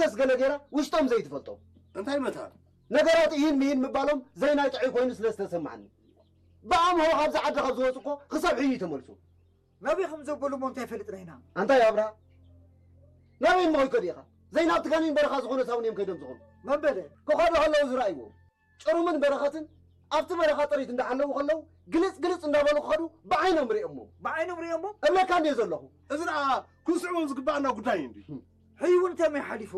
ደስ ገለ ገይራ ውሽጦም ዘይትፈልጦም። እንታይ መታን? ነገራት ኢሂን ምሂን ምባሎም ዘይናይ ጥዑይ ኮይኑ ስለ ዝተሰማዓኒ። ብኣምሆ ካብዚ ዓዲ ካብ ዝወፁ እኮ ክሳብ ሕዩ ተመልሱ። ናበይ ከም ዘበሉ እሞ እንታይ ፈልጥና ኢና? ኣንታይ ኣብርሃ? ናበይ እሞ ከይከዱ ኢኻ? ዘይናብቲ ጋኒን በረኻ ዝኾነ ሳውን እዮም ከይዶም ዝኾኑ። መበለ? ክኸዱ ከለዉ ዝረኣይዎም። ጭሩምን በረኸትን ኣብቲ በረኻ ጥሪት እንዳሓለዉ ከለዉ ግልጽ ግልጽ እንዳበሉ ክኸዱ ብዓይኖም ርእዮሞ። ብዓይኖም ርእዮሞ? እብለካ እንድየ ዘለኹ። እዚ ደኣ ክንስዕቦም ዝግባኣና ጉዳይ እንድዩ። ሕይ እውን እንታይ ሓሊፎ?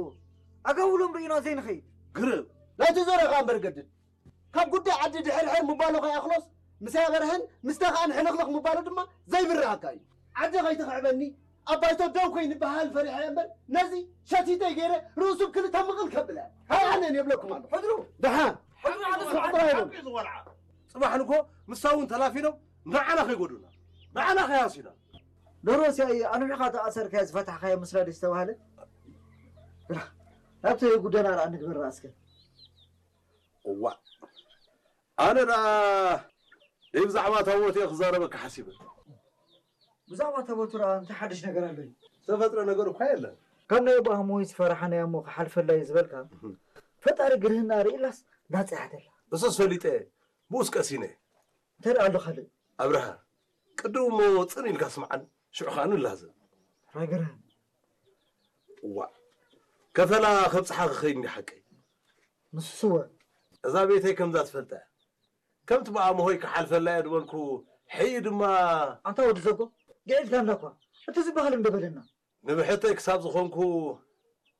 ኣጋውሎም ርኢና ዘይንኸይድ። ግርም። ናይቲ ዞረኻ እምበር ገድድ። ካብ ጉዳይ ዓዲ ድሕርሕር ምባሉ ከይኣኽሎስ፣ ምስ ኣበርሀን ምስ ተኻእን ሕልኽልኽ ምባሉ ድማ ዘይብርሃካ እዩ። ዓዲ ከይትኽዕበኒ፣ ኣብ ባይቶ ደው ከይንበሃል ፈሪሐ እምበር፣ ነዚ ሸቲተይ ገይረ ርእሱ ብክልተ ምቕል ከብለ። ሃይ ኣነን የብለኩም ኣሎ። ሕድሩ! ደሓን! ሕድሩ! ሕድሩ! ሕድሩ! ኣይበል። ሓቂ ዝወልዓ። ጽባሕ ንግሆ ምሳ እውን ተላፊኖም ንዓና ከይጎዱና፣ ንዓና ከይሃስዩና። ደሮሲ ኣየ ኣንቢዕኻ ተኣሰርካዮ ዝፈታሕካዮ ምስላ ድዩ ዝተባህለ? ብላ፣ ናብቲ ጉዳይና ደኣ ንግበር ደኣ እስከ። እዋእ፣ ኣነ ደኣ ደይ ብዛዕባ ታቦት እየ ክዛረበካ ሓሲበ። ብዛዕባ ታቦቱ ደኣ እንታይ ሓድሽ ነገር ኣሎ እዩ? ዝተፈጥረ ነገር እኳ የለን። ካብ ናይ ኣቦ ኣሞይ ዝፈራሓናዮ እሞ ክሓልፈላ እዩ ዝበልካ፣ እህ። ፈጣሪ ግርህና ርኢላስ ናጽ እያ ደላ። እሱስ ፈሊጠ፣ ብኡስ ቀሲነ። እንታይ ደኣ ኣሎ ካልእ? ኣብርሃ፣ ቅድም እሞ ጽን ኢልካ ስምዓን፣ ሽዑ ኸኣ ንላዘብ። ራይ ግርህን። እዋእ፣ ከፈላ ከብጽሓ ክኸይድ እንዲ ሓቀይ። ንሱስ እወ። እዛ ቤተይ ከምዛ ትፈልጣ እያ። ከምቲ ብኣምሆይ ክሓልፈላ እየ ዝበልኩ፣ ሕይ ድማ ኣንታ ወዲ ዘጎ፣ ግዒልካና እኳ። እቲ ዝበሃል እንዶ በለና። ንብሕተይ ክሳብ ዝኾንኩ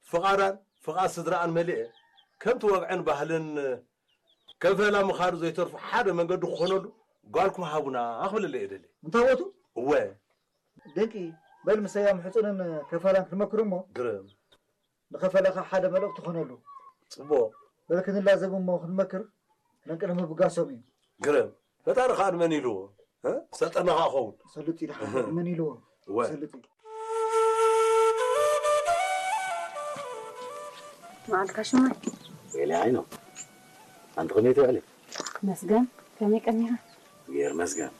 ፍቓዳን ፍቓድ ስድራኣን መሊኤ፣ ከምቲ ወግዕን ባህልን ከፈላ ምኻዱ ዘይተርፎ ሓደ መንገዲ ክኾነሉ ጓልኩም ሃቡና ክብለለ እየ ደሊ። እንታወቱ? እወ። ደቂ፣ በል ምሰያም ሕጹንን ከፈላን ክንመክር እሞ፣ ግርም። ንኸፈለኻ ሓደ መልእኽቲ ኾነሉ። ጽቡቕ። በል ክንላዘብ እሞ ክንመክር፣ ነንቅድሚ ምብጋሶም እዩ። ግርም። ፈጣሪ ኸኣ ንመን ኢልዎ? እ? ሰልጠና ኸኣ ኸውን። ሰልጥ ኢልካ መን ኢልዎ? እወ። ሰልጥ ኢሉ። መዓልካ ሽማይ? ወይለይ ዓይኖ። ኣንቲ ከመይ ትውዕሊ? መስገን፣ ከመይ ቀኒኻ? እግዜር መስገን።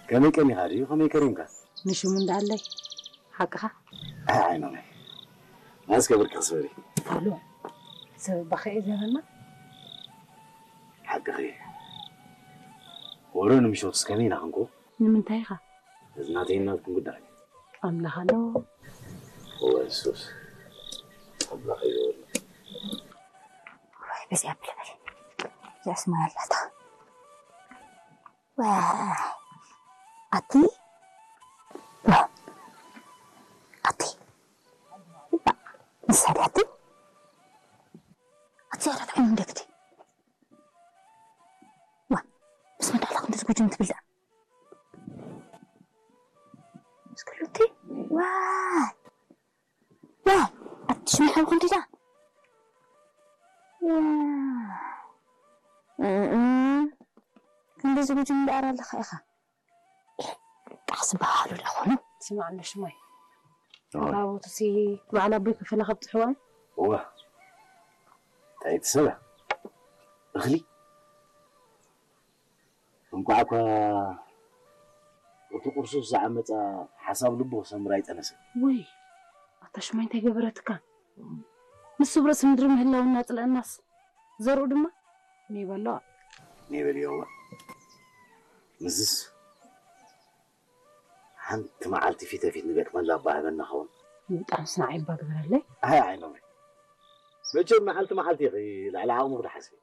ከመይ ቀኒኻ ድዩ? ከመይ ከሪምካ? ንሽሙ እንዳኣለይ። ሓቅኻ? ኣይ ዓይኖመይ። ናስከ ብርኪ ክስበሪ። ኣሎ። ሰብ ባኸ እየ ዘበና? ሓቅኺ። ወረ ንምሸቱስ ከመይ ኢና ክንኮ? ንምንታይ ኢኻ? እዚ ናተይን ናትኩም ጉዳይ። ኣምላኽ ኣሎ። እወ፣ ንሱስ ኣምላኽ እዩ ዝበሎ። ወይ፣ በዚኣ ብልበል። እዚኣስ ማይ ኣላታ። ዋይ፣ ኣቲ። ዋይ፣ ኣቲ። ንሳ ድያ ኣቲ? ኣቲ፣ ኣቲ፣ ኣቲ፣ ኣቲ፣ ኣቲ፣ ዋ፣ ምስ መን ዳኣ ክንዲ ዝጉጅም ትብል ደኣ? እስክሉቲ፣ ዋይ፣ ዋይ፣ ኣቲ ሽምሓዊ ክንዲ ደኣ? ዋይ፣ እም፣ ክንዲ ዝጉጅም ደኣ ኣለኻ ኢኻ። ጣዕሲ በሃሉ ዶ ኾኑ? ስማዕ እንዶ ሽማይ። ኦይ። ታቦትሲ በዓል ኣቦይ ከፈላ ከብጽሕዋ እዩ? እዋ። እንታይ ትሰምዕ? እኽሊ? እንቋዕ እኳ እቲ ቁርሱስ ዝዓመጻ ሓሳብ ልቡ ክሰምር ኣይጠነሰን። ወይ፣ ኣታ ሽማይ እንታይ ገበረትካ? ንሱ ብርእሲ ምድሪ ምህላው እናጽልአናስ፣ ዘርኡ ድማ ንይበልዖ። ንይበልዮ እዋ። ምስስ ሓንቲ መዓልቲ ፊተ ፊት ንገጥመላ እባ ሃበና ኸውን። ምጣንስ ንዓይ እባ ግበረለይ። ኣይ፣ ዓይኖመይ። መቸም መዓልቲ መዓልቲ ኢኺ ልዕሊ ዓቕምኺ ትሓስቢ።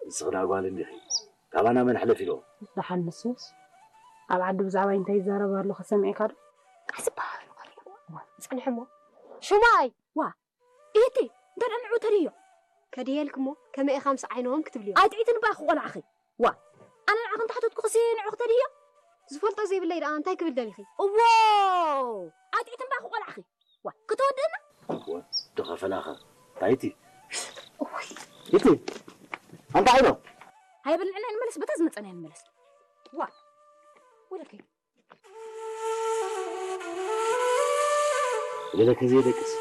ንስኺ ደኣ ጓል እንዲኺ። ካባና መን ሕለፍ ኢልዎ? ደሓን ንሱስ። ኣብ ዓዲ ብዛዕባይ እንታይ ይዛረብ ኣሎ ከሰሚዕካ ዶ? ቃስ እባ ሃበሉ ጓል። ዋ፣ ጽንሒ እሞ። ሽማይ! ዋ፣ ኢቲ፣ እንተ ደኣ ንዑ ተድዮ። ከድየልክ እሞ፣ ከመይ ኢኻ ምስ ዓይኖም ክትብልዮ? ኣይትዒትን እባ ክቆልዓኺ። ዋ፣ ኣነ ንዓኺ እንተሓተትኩኽሲ ንዑ ክተድዮ? ዝፈልጦ ዘይብለይ ደኣ እንታይ ክብል ደሊኺ? እዎ፣ ኣይትዒትን እባ ክቆልዓኺ። ዋ፣ ክተወድእና? ወዲ ከፈላኸ። ታይቲ። እውይ። ኢቲ፣ ኣንታ ዓይኖ። ሃየ በል ንዕና ንመለስ፣ በታ ዝመጸና ንመለስ። ዋ፣ ወለከይ። ወለከ ዘይደቅስ።